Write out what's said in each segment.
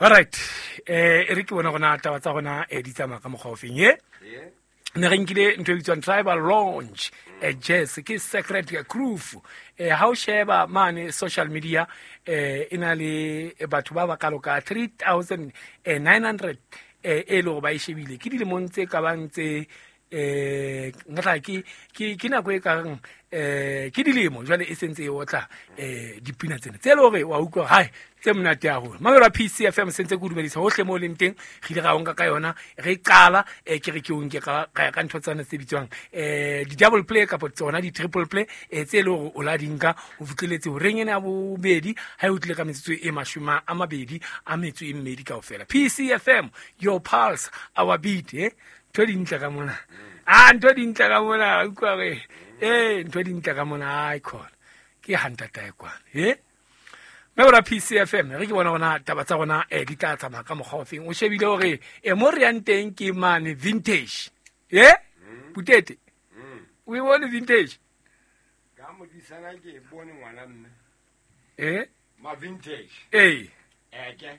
Alright, e re ke bona gona taba tsa gona di tsamaya ka mokgwa ofeng ye. Ne re nkile ntho e bitswang tribal launch, jazz ke secret groove. Ha o sheba mane social media, e na le batho ba ba kalo ka 3900 e le gore ba e shebile ke dilemong tse ka bang tse nka tla ke nako e kareng ke dilemo jwale e sentse e otla dipina tsena tse e le gore wa utlwa hai tse monate haholo. Mamelo a PCFM sentse ke o dumedisa hohle mo o leng teng. Re ile ra o nka ka yona re qala, ke re ke o nke ka ntho tsana tse bitswang di-double play kapa tsona di-triple play, tse e le gore o la di nka ho fihleletse horeng ena ya bobedi ha e o tlile ka metsotso e 22 kaofela. PCFM, your pulse, our beat. Ntho di ntle ka mona, a ntho di ntle ka mona, utlwa re ntho di ntle ka mona, ai khona ke hantata e kwana mme bora PCFM re ke bona gona taba tsa rona di tla tsamaya ka mokgwa ofeng. O shebile hore mo re yang teng ke mane vintage Putete, o e bone vintage? Ka modisana ke e bone ngwana mme. Ma vintage. Eke.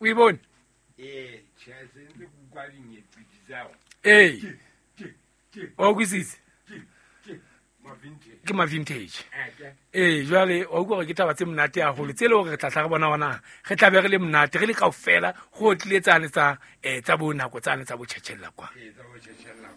O e bone? Tjhe, se ntse ke utlwa dinyeqiti tsa hona. Wa utlwisisa? Ke, ma vintage. Ke ma vintage. Eke. Jwale wa utlwa hore ke taba tse monate haholo tse le hore re tla tla re bona hona re tla be re le monate re le kaofela go tlile tsane tsa tsa bo nako tsane tsa bo tjhetjhella kwa. Ee, tsa bo tjhetjhella.